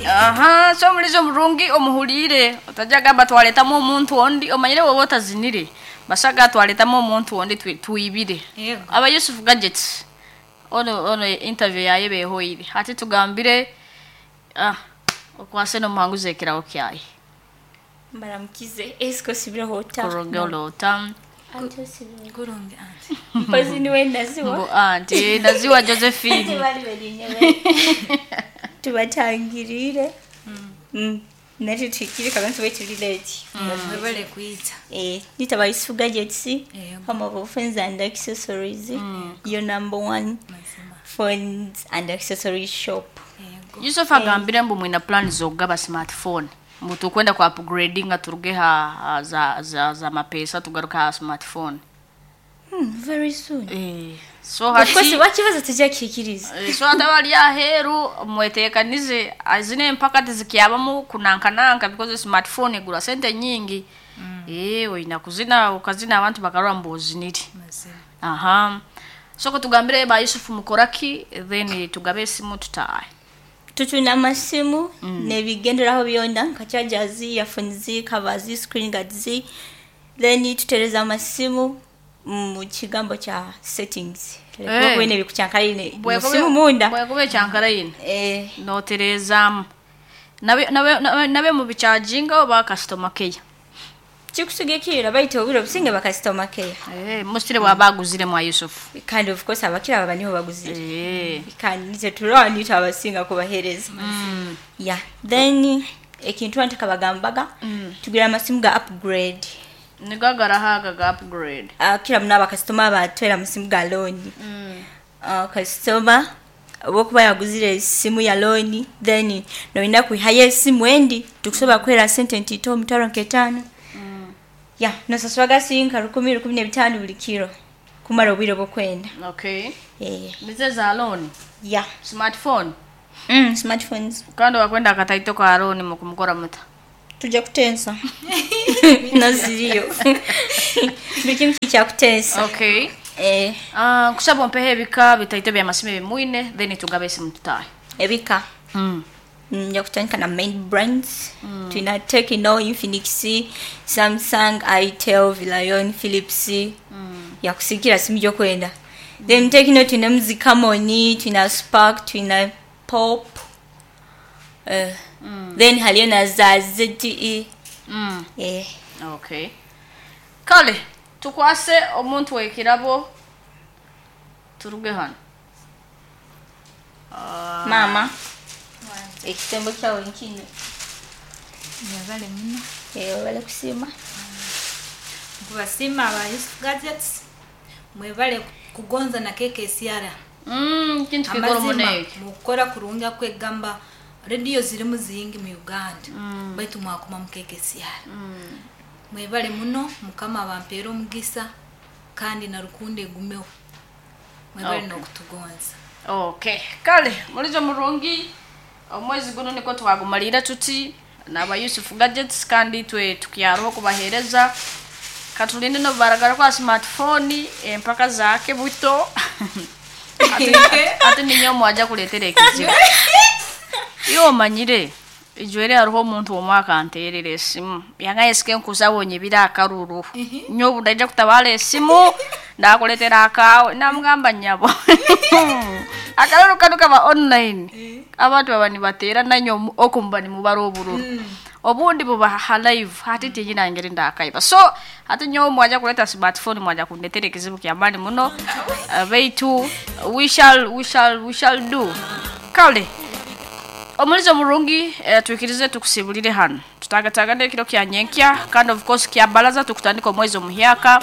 Aha, so mulizo murungi omuhulire otajja gamba twaletamu omuntu ondi, omanyire woba otazinire basaga twaletamu omuntu ondi twibire. Yego. Aba Yusuf Gadgets ono interview yaye behoire hati tugambire okwase nomuhanguzi ekirawo kyaye. Mbaramukize esiko sibireho ota. Kurogelo ota. Anti osibireho. Kurungi anti. Mpozi niwe naziwa. Mbu anti naziwa Josephine. Bali berinye. Tubatangirire. Nati tukiri kabantu betuli late. Mwebale kuyita. Nitaba Yusuf Gadgets, Yego. home of phones and accessories. Your number one Mazima. phones and accessories shop. Yego. Yusuf agambire mbu mwina plan zogaba smartphone. Mbu tukwenda kwa upgrading nga turuge ha za mapesa tugaruka ha smartphone. Very soon. So Of course, hati wakibazo tujya kikiriza. So atabali aheru mwetekanize azine mpaka tizikyabamu kunankananka because smartphone egura sente nyingi. Oyina kuzina ukazina abantu bakarwa mbuziniri. Mazima. Aha. So kutugambire ba Yusuf mukoraki then tugabe esimu tutaye. Tutuna amasimu nebigenderaho byona nka chargers, earphones, covers, screen guards. Then tutereza amasimu mu kigambo kya settings. Bwene bikucyankarine musimu munda. Bwekube cyankarine. Noterezamu. Nabe mu bicharginga oba customer care. Kikusugekira bayita obiro businge ba customer care. Musitire bwabaguzire mwa Yusuf. Kind of course abakira baba niho baguzire. Kandi nite turani tabasinga kubahereza. Yeah, then ekintu antaka bagambaga tugira amasimu ga upgrade. Nigagara haga ga upgrade. Kira muna customer batwera amasimu ga loan. Customer wokuba yaguzire esimu ya loan then noina kuhaye esimu endi tukusoba kwera sente ntito 5,500. Yeah, nosaswaga sinka 10,015 buli kiro kumara obwire bwokwenda. Okay. Nize za loan. Yeah. Smartphone. Smartphones. Kandi wakwenda akataito ka loan mukumukora muta. Tujja kutensa. Naziriyo. Buli kimu kya kutensa. Okay. Kusaba ompehe ebika bitaito bya masimu ebimwine then tugabe esimu tutaye. Ebika. Nja kutandika na main brands. Tuna Tecno, Infinix, Samsung, Itel, Vilayon, Philips. Ya kusikira simu gyokwenda. Then Tecno tuna Mzikamoni, tuna Spark, tuna Pop. Then haliyo na za ZTE. Okay. Kale tukwase omuntu wekirabo turuge hano. Mama. Ekitembo kyawe nkino. Mwebale muno. Webale kusiima. Kubasiima aba Yusuf Gadgets. Mwebale kugonza na KKCR. Kintu kikoro muneke. Mukora kurunga kwegamba radio zirimu ziyingi mu Uganda. Baitu mwakuma mu KKCR. Mwebale muno mukama abampeera omugisa kandi na rukundo egumeho. Mwebale n'okutugonza. Okay. Kale mulizo murungi omwezi guno niko twagumalira tuti naba Yusuf Gadgets kandi twe tukyaroho kubahereza katulinde no baragara kwa smartphone empaka zake buto. Ati ninyo mwaja kuletera ekizibu. Iyo manyire ijwere hariho omuntu omwaka anterera esimu yangaye sike nkusabonye bira akaruru nyo budaija kutabala esimu ndakuletera akawe namugamba nyabo. Akaruru kano kaba online. Abantu baba nibatera nanyo okumba ni mubaro obururu. Obundi buba ha live hati tiyina ngeri ndakaiba. So hati nyo mwaja kuleta smartphone mwaja kundetera ekizibu kya mani muno. Baitu we shall do. Kale omulizo murungi tuikirize tukusibulire hano. Tutagataga kiro kya nyenkya kandi of course kya balaza tukutandika omwezi omuhyaka.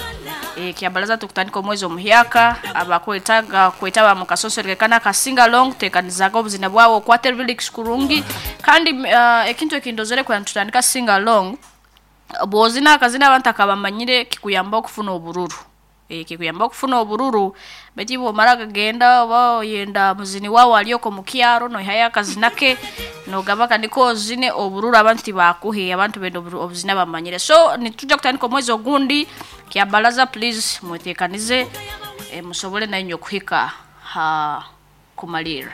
Kya balaza tukutandika omwezi omuhyaka abakwetaga kwetaba mu kasosereke kana kasinga long tekanizaga obuzina bwawo okwate lyrics kurungi kandi ekintu ekindozere kwa tutandika singa long bwozina akazina abantu akabamanyire kikuyamba okufuna obururu. Kikuyamba okufuna obururu beti bwomara kagenda oba oyenda muzini wawo aliyoko mu kyaro no haya akazinake no gabaka niko zine obururu abantu tibakuhe abantu bendo obuzina bamanyire. So nituja kutandika omwezi ogundi kya balaza please mwetekanize musobole na inyo kuhika ha kumalira.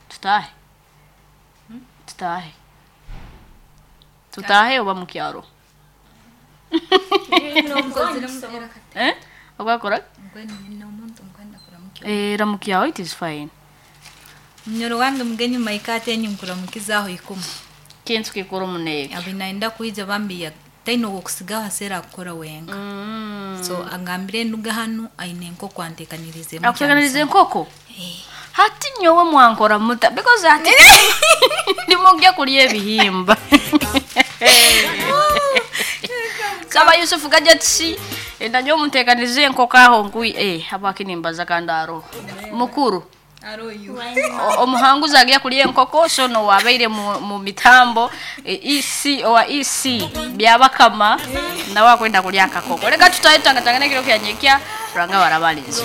Tutahe. Tutahe, tutahe oba mukyaro. Eh, ogakora. Eh, ramukyaho, it is fine. Munyoro wange mugenyi maikate enyu nkuramukizaaho ikumi. Kintu kikuru muneke. Abi naenda kwija bambi taine owokusigaho aseera akukora wenka. So angambire enduga hanu aine enkoko antekanirize. Akuteganiriza enkoko. Hati nyowe mwankora muta because ati ndimugya kulya ebihimba. Saba Yusufu Gadgets, nanyo muntekanirize enkoko aho nkui habwaki nimbaza kandi aroho mukuru omuhanguzi agya kulya enkoko. So no wabaire mu mitambo, EC owa EC byabakama nawe akwenda kulya akakoko. Leka tutahe, tangatangana kiro kyanyekya ranga barabalinzi.